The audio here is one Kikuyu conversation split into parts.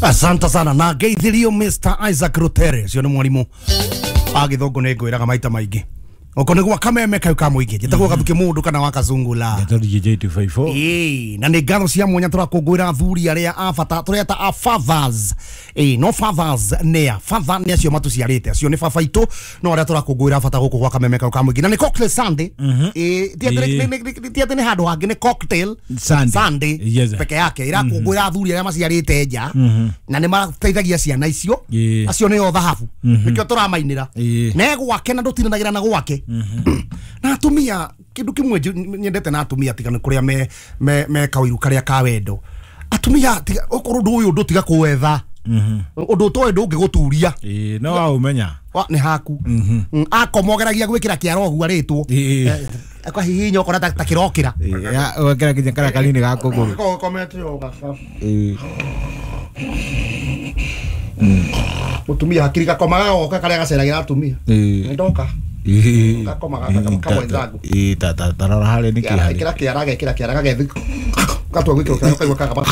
Asante sana na ngeithirio Mr. Isaac Rutere cio nĩ mwarimũ wa gĩthũngũ nĩ ngwĩraga maita maingĩ oko nĩ gwa kameme kau ka mũingĩ njĩtagwo Gathuki mũndũ kana wa Kazungula. Ndeto DJ 254. Ĩĩ, na nĩ ngatho cia mwanya tũrakũngũĩra athuri arĩa a bata tũreta a fathers. Ĩĩ, no fathers nĩa father nĩ acio matũciarĩte acio nĩ baba itũ no arĩa tũrakũngũĩra bata gũkũ gwa kameme kau ka mũingĩ na nĩ cocktail Sunday. Ĩĩ, ti atĩ nĩ handũ hangĩ nĩ cocktail Sunday. Sunday Yes. peke yake irakũngũĩra athuri arĩa maciarĩte nja na nĩ mateithagia ciana icio Ĩĩ. acio nĩo thahabu nĩkĩo tũramainĩra Ĩĩ. ne gwake na ndũtindanagĩra na gwake na atumia kindu kimwe nyendete na atumia tiga nĩ kũrĩa me kawĩru karĩa ka wendo atumia tiga okorwo ũndũ ũyũ ndũtiga kũwetha ũndũ ũtoĩ ndũngĩgũturia. Ĩĩ, no waũmenya. Nĩ haku akomogeragia gwĩkĩra kĩara ũguo arĩtwo Ĩĩ. akahihinya ũkona ta kĩrokĩra. Ĩĩ, ũgekĩra nginya karĩa kanini ga kũgũrũ. Ĩĩ. Mũtumia hakiri gakomaga goka karĩa gaceragĩra atumia. Ĩĩ. Nĩndoka. Ĩĩ. Gakoma kamwethangu. Ĩĩ, ta rora harĩa nĩ kĩ harĩ. Ĩkĩra kĩara gekĩra kĩara gagethi gatua gwĩkĩra kĩara ũkaigua kagamba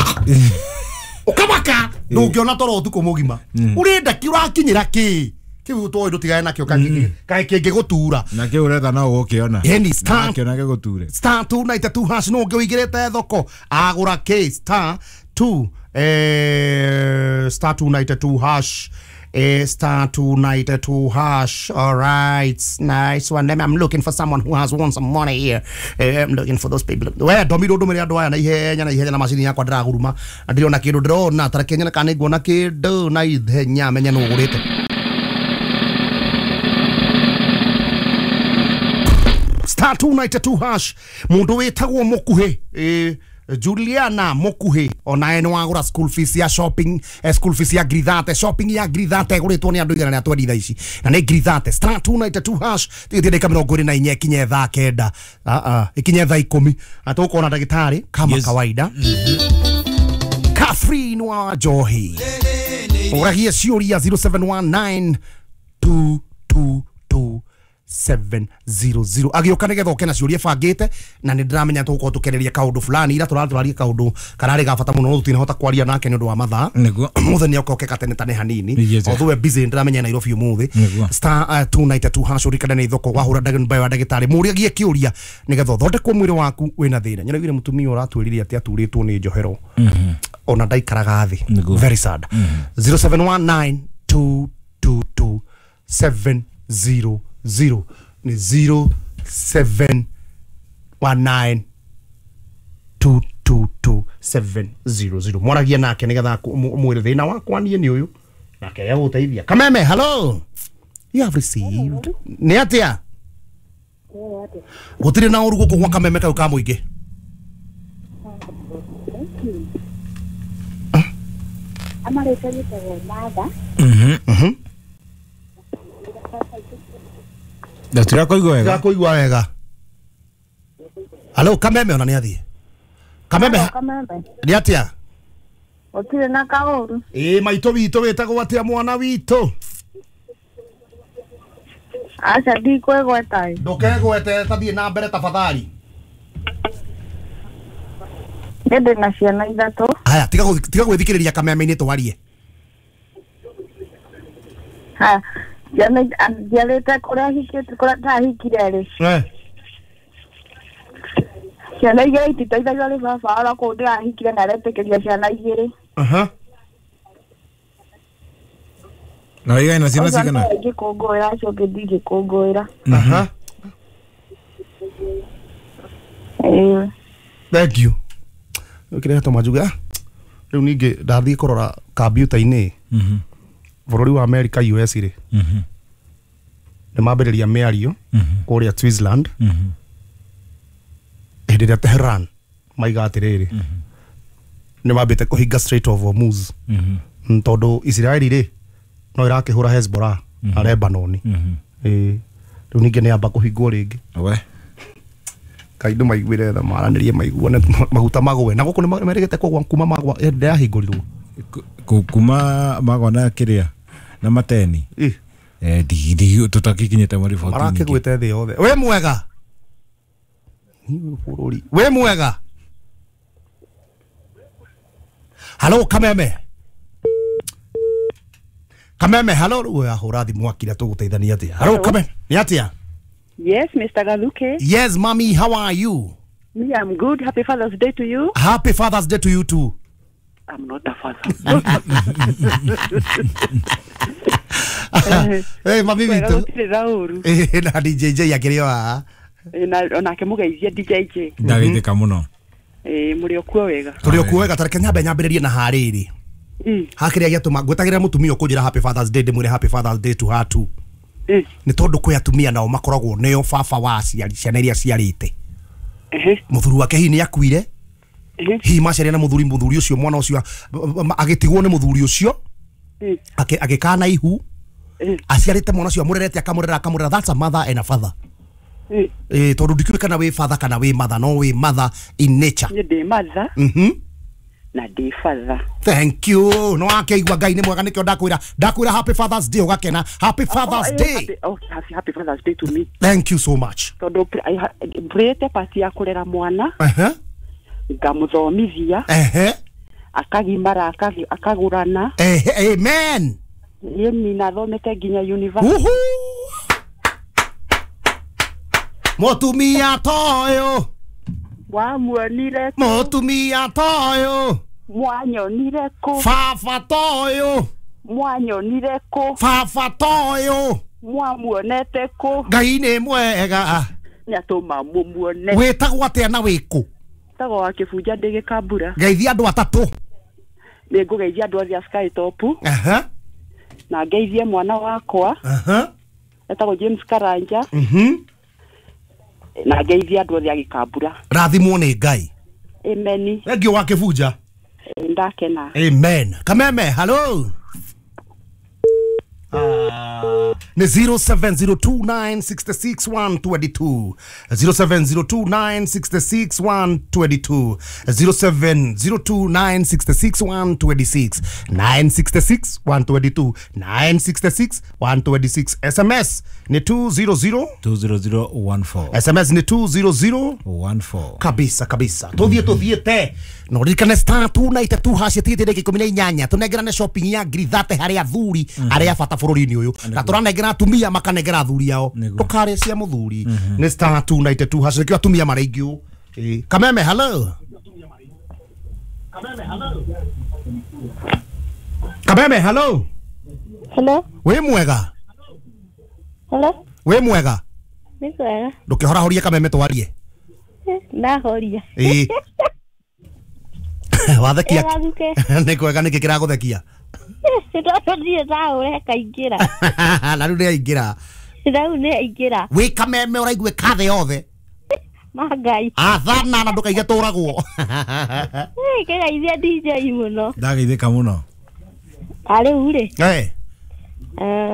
ũkamaka ndũngĩona toro ũtukũ mũgima ũrenda kĩ ũrakinyĩra kĩ kĩu ũtoĩ ndũtigane nakĩo kaĩ kĩngĩgũtura. Na kĩu ũretha no ũgũkĩona. Ĩni, star Nakĩona gĩgũture. star 292 hash no ũngĩ ũigĩrĩte thoko agũra kĩ star 2 star 292 hash star 292 hash. All right, nice one. I'm looking for someone who has won some money here. I'm looking for those people. We ndomire ndũmĩre andũ aya na ihenya na ihenya na macini yakwa ndĩraguruma na ndirona kĩndũ ndĩrona tareke nyone kana nĩnguona kĩndũ na ihenya menye nũ ũgũrĩte. Star 292 hash mundu witagwo Mukuhi Juliana Mukuhi onaye nĩ wagũra school fees ya shopping school fees ya ngiri 30 shopping ya ngiri 30 ĩgũrĩtwo nĩ andũ 120 thaa ici na nĩ ngiri 30 star 292 hash tigĩtie ndagĩka 24 ikinye thaa 9 ikinye thaa 10 na tũkona ndagĩtarĩ kama Yes. kawaida. Catherine wa Njohi ũragie ciũria 0719 222 700 agĩũka nĩgetha ũke na ciũria bangĩte na nĩ ndĩramenya tũgũkorwo tũkĩarĩria kaũndũ fulani ira tũratũraria kaũndũ kararĩ ga bata mũno no tũtinahota kwaria nake nĩ ũndũ wa mathaa. Nĩguo. Mũthĩ nĩ oke gatene tane hanini Yes. although we're busy ndĩramenya Nairobi ũmũthĩ. Nĩguo. Star 292 hash ũrikane nĩ thoko wahũra ndagĩtarĩ wa ndagĩtarĩ mũriagie kĩũria nĩgetha ũthondekwo mwĩrĩ waku wĩna thĩna nyonaiguire mũtumia ũratwĩrire atĩ aturĩtwo nĩ njohero ona ndaikaraga thĩ. Nĩguo. Very sad. 0719 222 700 ni 0719 222 700 mwaragia nake nigetha mwĩre thĩna wakwa niĩ nĩ ũyũ nake egũteithia. Kameme, hello, you have received nĩ atĩa gũtirĩ na ũru gũkũ gwa kameme kau ka mũingĩ. Amarĩtwa gĩtagwo Martha. Ndatirakũigua wega. Ndĩrakũigua wega. Hello Kameme ona nĩ athiĩ Kameme. Kameme. Nĩ atĩa? Gũtirĩ na kaũru. Ĩĩ maitũ witũ wĩtagwo atĩa mwana witũ? Aca ndikwĩgweta ĩ. Ndũkegwete tathiĩ na mbere tafadhali. Niĩ ndĩ na ciana ithatũ. Haya tiga gwĩthikĩrĩria kameme-inĩ twarie. Haya ciana njiarĩte kũrĩa hikĩte kũrĩa ndahikire rĩ. Ciana igĩrĩ ititeithagio nĩ baba oro kũu ndĩrahikire na aretĩkĩria ciana igĩrĩ. Na wĩigaine na ciana Ũcio cigana? nĩwe ingĩkũngũĩra acio angĩ ndingĩkũngũĩra. Ĩĩ. Thank you. Ũkĩrehe tũmajuge rĩu ningĩ ndathiĩ kũrora kambiuta-inĩ bũrũri wa America US rĩ nĩ mambĩrĩria mĩario kũrĩa Switzerland hĩndĩ ĩrĩa Tehran maiga atĩrĩrĩ nĩ mambĩte kũhinga Strait of Hormuz tondũ Israeli rĩ no ĩrakĩhũra Hezbollah na Lebanon. Ĩĩ rĩu ningĩ nĩ yamba kũhingwo rĩngĩ. We. Kaindu maiguire tha maranĩrie maiguane maguta magwe na gũkũ nĩ merĩgĩte kũgwa kuma magwa hĩndĩ yahingũrirwo Kuma magwa na kĩrĩa na mateni. Ĩ. Ndigi tũtakikinyĩte mweri 14. Marakĩgwĩte thĩ yothe. We mwega bũrũri we mwega. Halo Kameme. Kameme hello rĩu ahũra thimũ akira tũgũteithania atĩa? Hello Kameme, nĩ atĩa? Yes, Mr. Gathuke. Yes, mommy, how are you? Me, I'm good. Happy Father's Day to you. Happy Father's Day to you too. I'm not a father. Hey, mami witũ. Na DJJ akĩrĩ o haha. Na onake mũgeithie DJJ. Ndageithĩka mũno. Mũrĩ o kuo wega. Tũrĩ o kuo wega, tareke nyambe nyambĩrĩrie na harĩrĩ. Hakĩrĩa gĩatũma ngwĩtagĩrĩra mũtumia ũkũnjĩra Happy Father's Day ndĩmwĩre Happy Father's Day to her too. Nĩ tondũ kwĩ atumia nao makoragwo nĩo baba wa aciari ciana iria aciarĩte. Mũthuri wake hihi nĩ akuire, hihi maciaria na mũthuri ũcio mwana ũcio agĩtigwo nĩ mũthuri ũcio agĩkana ihu aciarĩte mwana ũcio amũrerete akamũrera. That's a mother and a father. Tondũ ndikĩũĩ kana wĩ father kana wĩ mother, no wĩ mother in nature. Niĩ ndĩ mother na ndĩ father. Thank you. No akĩigua Ngai nĩ mwega, nĩkĩo ndakwĩra Happy Father's Day ũgakena. Happy Father's Day. Happy Father's Day to me. Thank you so much. Tondũ mbũrĩte pati ya kũrera mwana, ngamũthomithia, akagimara, akagũrana. Amen. Ĩni na thomete nginya university. Mũtumia toyo wamuonire, mũtumia toyo mwanyonire kũ, baba toyo mwanyonire kũ, baba toyo mwamuonete kũ. Ngai nĩ mwega nĩatũma mũmuone. Wĩtagwo atĩa na wĩkũ? Tagwo wa Kĩbunja ndĩ Gĩkambura. Geithia andũ atatũ. Nĩngũgeithia andũ othe a Sky Top. Na ngeithie mwana wakwa etagwo James Karanja. Na ngeithia andũ othe a Gĩkambura. Rathimwo nĩ Ngai. Amen. Thank you wa Kĩbunja. Ndakena. Amen. Kameme hello. Ni 0702966122, 0702966122, 0702966126, 966 122, 966 126. SMS ni 200 20014. SMS ni 20014. Kabisa kabisa. Tuthiĩ te. No ririkane star 292 hash tigĩte ndagĩka 18 tũnengerane shopping ya ngiri 30 harĩ athuri arĩa bata bũrũri-inĩ ũyũ, na tũranengera atumia makanengera athuri ao. Ndũkarĩe cia mũthuri. Nĩ star 292 hash nĩkĩo atumia maraingĩ ũũ. Kameme hello. Kameme hello. Hello. Wĩ mwega? Hello. Wĩ mwega? Nĩ mwega. Ndũkĩhorahorie Kameme twarie. Ndahoria. Wathekia. Nĩ kwega, nĩkĩ kĩragũthekia? Tondũ ndirĩ ndaũre kaingĩra. Na rĩu nĩaingĩra. Rĩu nĩaingĩra. Wĩ Kameme ũraigue kathe yothe. Ma Ngai. Athana na ndũkaige tũragwo. Kĩgeithia DJ mũno. Ndageithĩka mũno. Rĩu rĩ.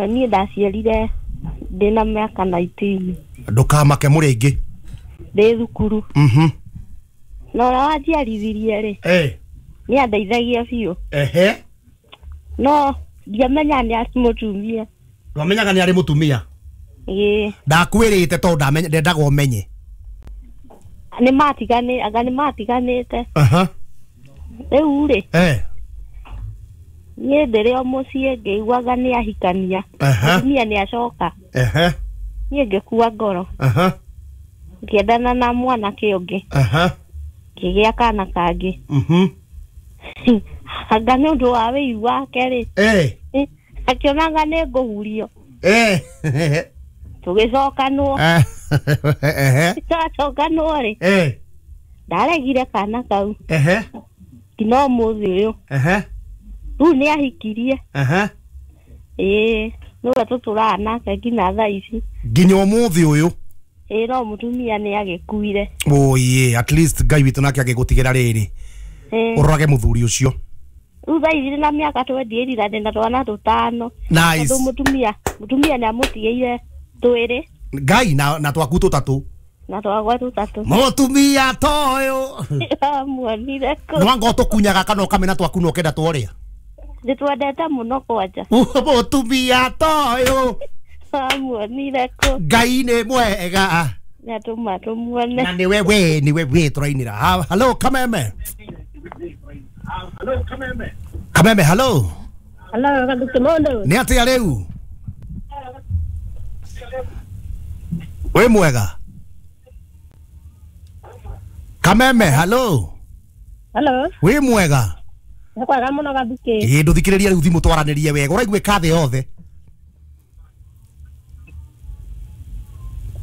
Niĩ ndaciarire ndĩna mĩaka 19. Ndũkamake mũrĩ aingĩ. Ndĩ thukuru. Na ũrĩa wanjiarithirie rĩ, nĩandeithagia biũ. No ndiamenya nĩ arĩ mũtumia. Ndwamenyaga nĩ arĩ mũtumia? Ĩĩ. Ndakwĩrĩte tondũ ndendaga ũmenye. Nĩ matiganĩte. Rĩu rĩ, niĩ ndĩrĩ o mũciĩ ngĩiguaga nĩ ahikania. Mũtumia nĩ acoka. Niĩ ngĩkua ngoro. Ngĩendana na mwanake ũngĩ. Ngĩgĩa kana kangĩ. Anga nĩ ũndũ wa wĩiru wake rĩ, akĩonaga nĩ ngũhurio. Tũgĩcokanwo. Twacokanwo rĩ, ndaregire kana kau nginya ũmũthĩ ũyũ. Rĩu nĩ ahikirie. Ĩĩ, nĩwe tũtũraga nake nginya thaa ici. Nginya ũmũthĩ ũyũ? Ĩĩ, no mũtumia nĩ agĩkuire. Oye, at least Ngai witũ nake agĩgũtigĩra rĩrĩ. Ũrorage mũthuri ũcio. Rĩu thaa ici na mĩaka 28 na ndĩna twana tũtano. Nice. Tondũ mũtumia nĩ amũtigĩire twĩrĩ. Ngai na twaku tũtatũ. Na twakwa tũtatũ. Mũtumia toyũ. Amuonire kũ. Nĩwanga ũtũkunyaga kana ũkamena twaku na ũkenda twarĩa? Nĩtwendete mũno kwanja. Mũtumia toyũ. Amuonire kũ. Ngai nĩ mwega. Nĩatũma tũmuone. Na nĩwe we, nĩwe we tũrainĩra. Hello Kameme. Kameme hello. Hello, Gathuki Mundu. Ni atia riu? Wi mwega? Kameme, hello. Hello. Wi mwega? Nĩ kwega mũno Gathuki. Ĩ nduthikĩrĩria rĩu thimũ twaranĩrie wega ũraiguĩka thĩ yothe.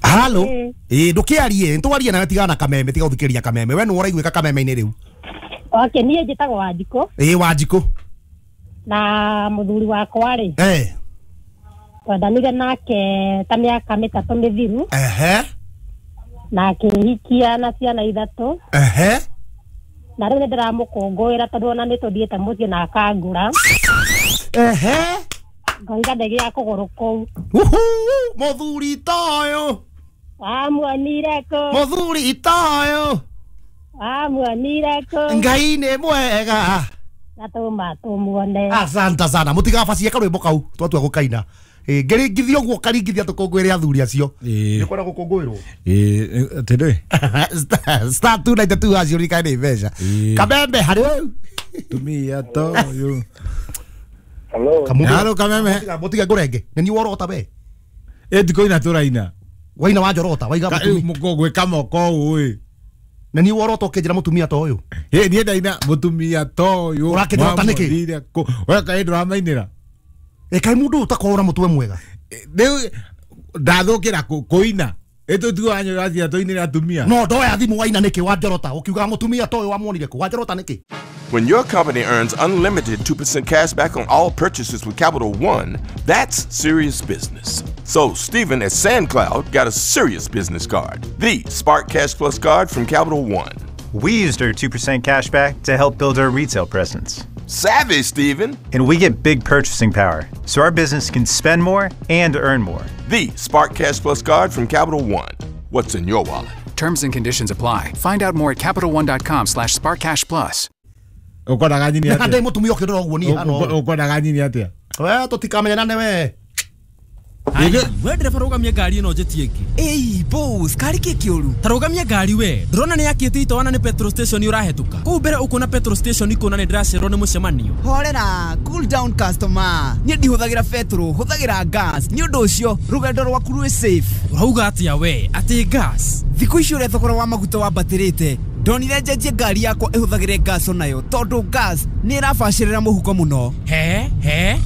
Halo. Ĩ ndũkĩarie, nĩtwarie nawe tigana na Kameme, tiga gũthikĩrĩria Kameme. We nĩwe ũraiguĩka Kameme-inĩ rĩu. Okay, niĩ njĩtagwo Wanjikũ. Ĩ Wanjikũ. Na mũthuri wakwa rĩ. Eh. Twendanire nake ta mĩaka 3 mĩthiru. Ehe. Na akĩhikia na ciana 3. Ehe. Na rĩu nĩndĩramũkũngũĩra tondũ ona nĩtũthiĩte mũciĩ na akangũra. Ehe. Ngoiga ndege kũgũrũ kũu. Uhu, mũthuri toyo. Wamuonire kũ? Mũthuri toyo. Wamuonire kũ? Ngai nĩ mwega. Natũma tũmuone. Asante sana. Mũtigabacie karwĩmbo kau twatua gũkaina. Ngĩringithia ũguo ũkaringithia tũkũngũĩre athuri acio. Nĩũkwenda gũkũngũĩrwo? Atĩrĩ. Star 292 acio ririkane nĩ mbeca. Kameme harĩ wewe. Tumia toyo. Hello. Hello Kameme. Mũtige ngũrenge. Nĩ niĩ worota we. Ĩ ndikũina tũraina. Waina wanjorota waiga mũtumia. Mũkũgwĩka moko ũũ ĩ. Na niĩ worota ũkĩnjĩra mũtumia ta ũyũ. Ĩ niĩ ndaina mũtumia ta ũyũ. Ũrakĩnjorota nĩkĩ? We kaĩ ndũramainĩra. Ĩ kaĩ mũndũ ũyũ ũtakoragwo na mũtwe mwega. Rĩu ndathũkĩra kũina. Ĩ tũtigwo wanyorathia tũinĩre atumia. No ndoya thimũ waina nĩkĩ wanjorota ũkiuga mũtumia ta ũyũ wamuonire kũ wanjorota nĩkĩ? When your company earns unlimited 2% cash back on all purchases with Capital One, that's serious business. So Stephen at SandCloud got a serious business card, the Spark Cash Plus card from Capital One. We used our 2% cash back to help build our retail presence. Savvy, Stephen. And we get big purchasing power, so our business can spend more and earn more. The Spark Cash Plus card from Capital One. What's in your wallet? Terms and conditions apply. Find out more at CapitalOne.com/SparkCashPlus. Ukwendaga nyini atia? Ndĩ mũtumia ũkĩndora ũguo niĩ hana ũũ. Ukwendaga nyini atia? We tũtikamenyana we. We ndereba rũgamia ngari ĩno njĩtie ĩngĩ. Ĩi boss, kari kĩ kĩũru? Ta rũgamia ngari we. Ndũrona nĩ yakĩte itoana nĩ petrol station ũrahetũka. Kũu mbere ũkuona petrol station ikuona nĩ ndĩracererwo nĩ mũcemanio. Horera, cool down customer. Niĩ ndihũthagĩra petrol, hũthagĩra gas. Nĩ ũndũ ũcio rũgendo rwaku rwĩ safe. Ũrauga atĩa we? Atĩ gas? Thikũ ici ũrĩa thogora wa maguta wambatĩrĩte, ndonire njenjie ngari yakwa ĩhũthagĩre gas onayo tondũ gas nĩ ĩrabacĩrĩra mũhuko mũno. He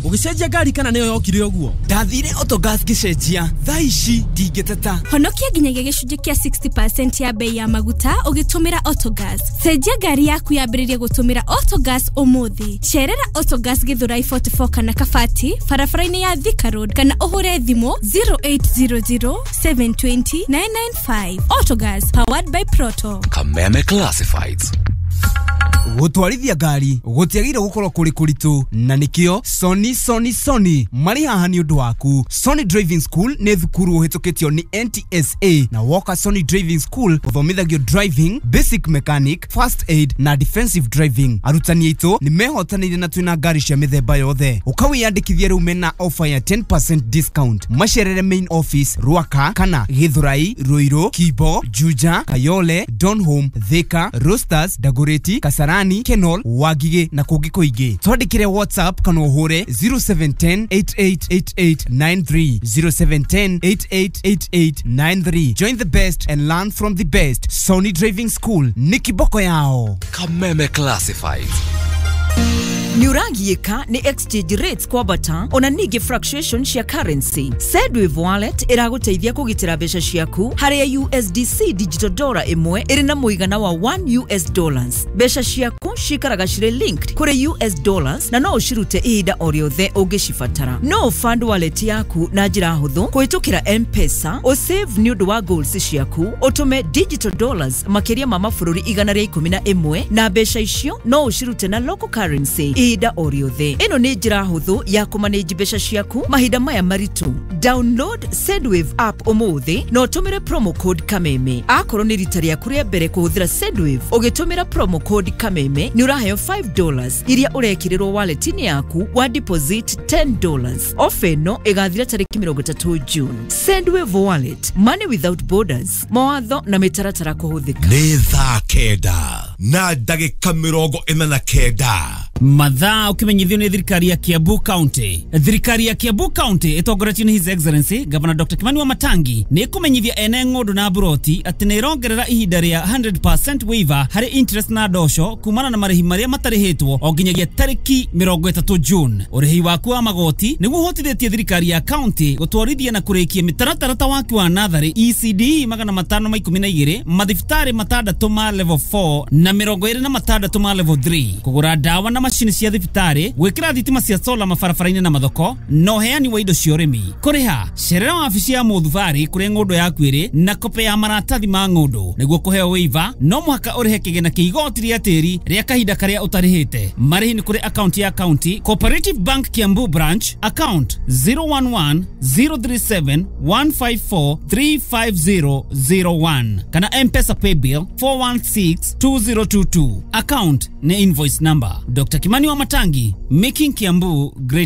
ũgĩcenjia ngari kana nĩyo yokire ũguo? Ndathire Autogas ngĩcenjia, thaa ici ndingĩteta. Honokia nginyagia gĩcunjĩ kĩa 60% ya bei ya maguta ũgĩtũmĩra Autogas. Cenjia ngari yaku yambĩrĩrie gũtũmĩra Autogas ũmũthĩ. Cerera Autogas Githurai 44 kana Kabati barabara-inĩ ya Thika Road kana ũhũre thimũ 0800 720 995. Autogas, powered by Proto. Kameme Classifieds. Gũtwarithia ngari gũtiagĩrĩire gũkorwo kũrĩ kũritũ na nĩkĩo Sony Sony Sony marĩ haha nĩ ũndũ waku. Sony Driving School nĩ thukuru ũhĩtũkĩtio nĩ NTSA na woka Sony Driving School ũthomithagio driving, basic mechanic, first aid na defensive driving. Arutani aitũ nĩ mehotanĩire na twĩna ngari cia mĩthemba yothe. Ũkawĩyandĩkithia rĩu mena offer ya 10% discount. Macerere main office Ruaka kana Githurai, Ruiru, Kibo, Juja, Kayole, Donholm, Thika, Roasters, Dagoretti, Kasarani, Kenol, Wagige na kũngĩ kũingĩ. Twandĩkĩre WhatsApp kana ũhũre 0710 888893 0710 888893. Join the best and learn from the best. Sony Driving School nĩ kiboko yao. Kameme Classifieds. Nĩũragiĩka nĩ exchange rates kwambata ona ningĩ fluctuation cia currency. Sendwave Wallet ĩragũteithia kũgitĩra mbeca ciaku harĩa USDC digital dollar ĩmwe ĩrĩ na mũigana wa 1 US dollars. Mbeca ciaku cikaraga cirĩ linked kũrĩ US dollars na no ũcirute ihinda o rĩothe ũngĩcibatara. No fund wallet yaku na njĩra hũthũ kũhĩtũkĩra M-Pesa, ũsave nĩ ũndũ wa goals ciaku, ũtũme digital dollars makĩria ma mabũrũri 111 na mbeca icio no ũcirute na local currency ihinda o rĩothe. Ĩno nĩ njĩra hũthũ ya kũmanage mbeca ciaku mahinda maya maritũ. Download Sendwave app ũmũthĩ na ũtũmĩre promo code Kameme. Akorwo nĩ rita rĩaku rĩa mbere kũhũthĩra Sendwave ũgĩtũmĩra promo code Kameme nĩ ũraheo $5 iria ũrekĩrĩrwo wallet-inĩ yaku wa deposit $10. Ofa ĩno ĩgathira tarĩki 30 June. Sendwave Wallet, money without borders. Mawatho na mĩtaratara kũhũthĩka. Nĩ thaa 9 na ndagĩka 49. Mathaa ũkĩmenyithio nĩ thirikari ya Kiambu County. Thirikari ya Kiambu County ĩtongoretio nĩ His Excellency Governor Dr. Kimani Wamatangi nĩ ĩkũmenyithia ene ng'ũndũ na mburoti atĩ nĩ ĩrongerera ihinda rĩa 100% waiver harĩ interest na ndosho kumana na marĩhi marĩa matarĩhĩtwo o nginyagia tarĩki 30 June. Ũrĩhi waku wa magoti nĩguo ũhotithĩtie thirikari ya county gũtwarithia na kũrĩkia mĩtaratara ta waki wa natharĩ ECD 512, mathibitarĩ 6 ma level 4 na 26 ma level 3, kũgũra ndawa na macini cia thibitarĩ, gwĩkĩra thitima cia sola mabarabara-inĩ na mathoko, na ũheani wa indo cia ũrĩmi. Kũrĩha cerera wabici ya mũthubarĩ kũrĩa ng'ũndũ yaku ĩrĩ na kope ya maratathi ma ng'ũndũ. Nĩguo kũheo waiver no mũhaka ũrĩhe kĩgĩna kĩa igoti rĩa tĩri rĩa kahinda karĩa ũtarĩhĩte. Marĩhi nĩ kũrĩ akaunti ya county Cooperative Bank Kiambu branch, account 011 037 154 35001 kana M-Pesa paybill 416 2022. Account ni invoice number. Dr. Kimani Wamatangi, making Kiambu great.